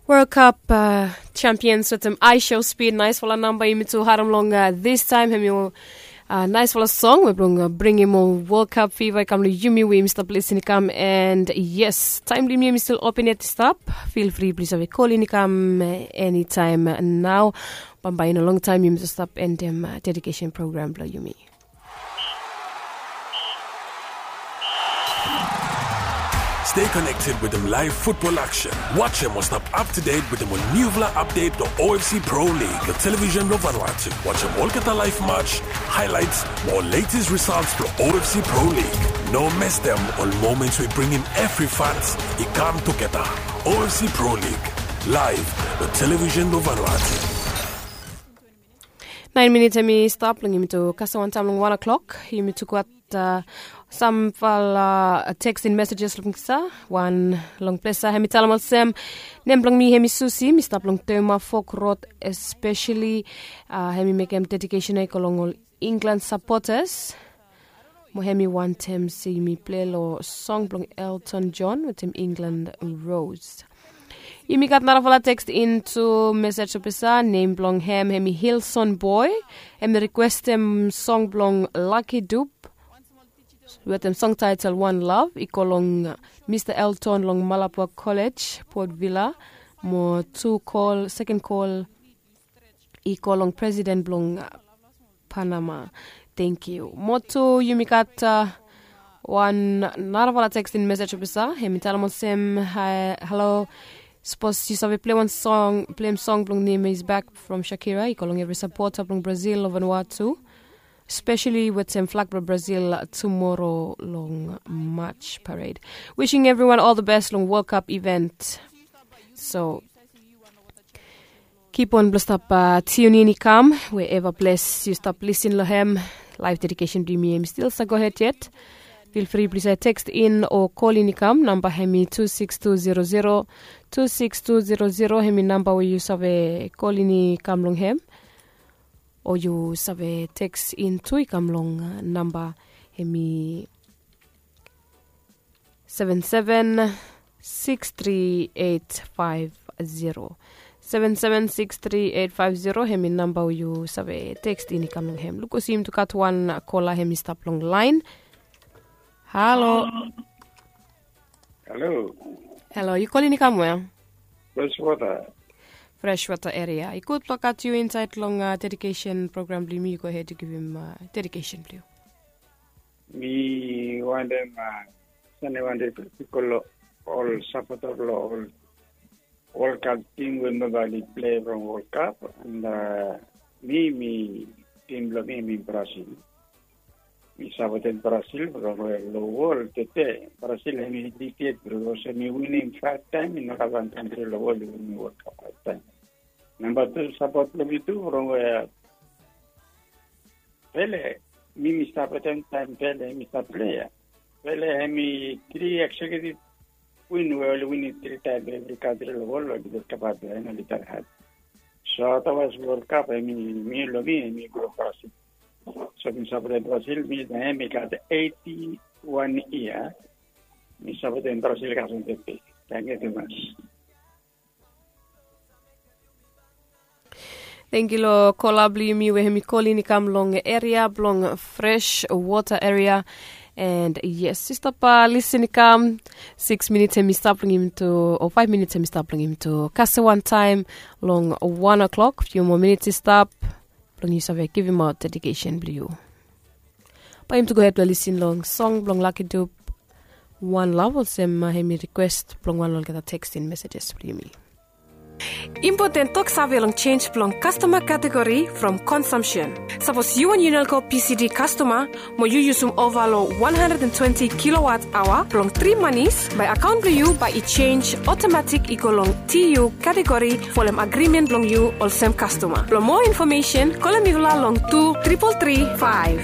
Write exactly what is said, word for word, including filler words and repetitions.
World Cup champions wetem I Show Speed, naisfala namba yumi tu harem long distaem. Hem i naisfala song we blong bringim ol World Cup fiva i kam long yumi we yumi stap lisin i kam. And yes, taem blong yumi hem i stil open yet i stap. Feel free plis save kolin i kam enitaem nao. Bambae i no longtaem yumi tu stap endem dedikesen program blong yumi. Stay connected wetem live football action. Wajem o stap up to date wetem ol niufala update blong O F C Pro League long television blong Vanuatu. Wajem olgeta live match, highlights mo latest results blong O F C Pro League. No mestem ol moments we bringim evri fans i kam tugeta. O F C Pro League live long television blong Vanuatu. Naen minit hem i stap long yumi tu kasem wantaem long wan o'clock. Yumi tu gat samfala teksting mesejes long pisa. Wan long ples ya hem i talem olsem, nem blong mi hem i Susi, mi stap long Toma Fok Rod espeseli. Hem i mekem dedikesen ya i go long ol Inglan sapotas. Mo hem i wantem se yumi plei long song blong Elton John wetem Inglan Rose. Yumi gat narafala tekst intu mesej blong pisa. Nem blong hem hem i Hilson Boy. Hem i rikwestem song blong Lucky Dube wetem song taetel One Love i go long Mista Elton long Malapua Kolej, Port Vila. Mo tu kol, seken kol i go long presiden blong Panama. Tengiu. Mo tu yumi gat wan narafala teksting mesej blong pisa. Hem i talem olsem, halo, sapos yu save plei wan song, pleim song blong nem Is Back from Shakira i go long evri sapota blong Brazil long Vanuatu, speseli wetem flag blong Brazil tumora long March parade. Wishing everyone all the best long World Cup event. So kip on blong stap tiun in i kam wherever ples yu stap lisin long hem. Laef dedikesen blong yumi hem i stil save gohed yet. Feel free blong save tekst in o kolin i kam. Namba hem i tu sikis tu zero zero, tu sikis tu zero zero. Hem i namba we yu save kolin i kam long hem. O yu save tekst in tu i kam long namba hem i seven seven six three eight five zero. Seven seven six three eight five zero. Hem i namba we yu save tekst in i kam long hem. Luk olsem yumi tu gat wan kola hem i stap long laen. Halo. Halo. Halo, yu kolin i kam we? Freshwater. Freshwater eria. I gud blong gat yu insaed long dedikesen program blong yumi. Yu gohed yu givim dedikesen blong yu. Mi wantem sande wantem pipol ol sapota blong ol World Cup tim we mobile i plei from World Cup. And mi mi tim blong mi mi Brazil. Mi sapotem Brazil from long wol tete. Brazil hem i diked from olsem mi winim faev taem. Mi no gat wan kantri long wol i winim World Cup faev taem. Namba tu sapot blong mi tu from we Pele, mi mi stap wetem taem Pele mi stap plei ya. Pele hem i tri eksekiutiv win we oli winim tri taem evri kantri long wol oli gat kapab ya en oli gat had. So otherwise World Cup hem i mi long mi hem i go Brazil. So mi sapotem Brazil mi na hem i gat eiti wan yia. Mi sapotem Brazil kasem tete. Tangkiu tumas. Tengiu long kola blong yumi we hem i kolin i kam long eria blong Freshwater eria. And yes, yu stap lisin i kam. Sikis minits hem i stap long yumi tu, o faev minits hem i stap long yumi tu kasem wantaem long wan o'clock. Fiu moa minits i stap blong yu save givimaot dedikesen blong yu. Bae yumi tu gohed blong lisin long song blong Lucky Dube, One Love, olsem hem i rikwes blong wan long olgeta teksting mesejes blong yumi. Impoten toksave long sens blong kastoma kategori from konsumsen. Sapos yu wan Unelco P C D kastoma mo yu yusum ova long wan handred and twenti kilowat aoa blong tri manis, bae akaon blong yu bae i sens otomatik i go long T U kategori folem agrimen blong yu olsem kastoma. Blong moa infomesen, kolem mifala long tu tripol tri faev.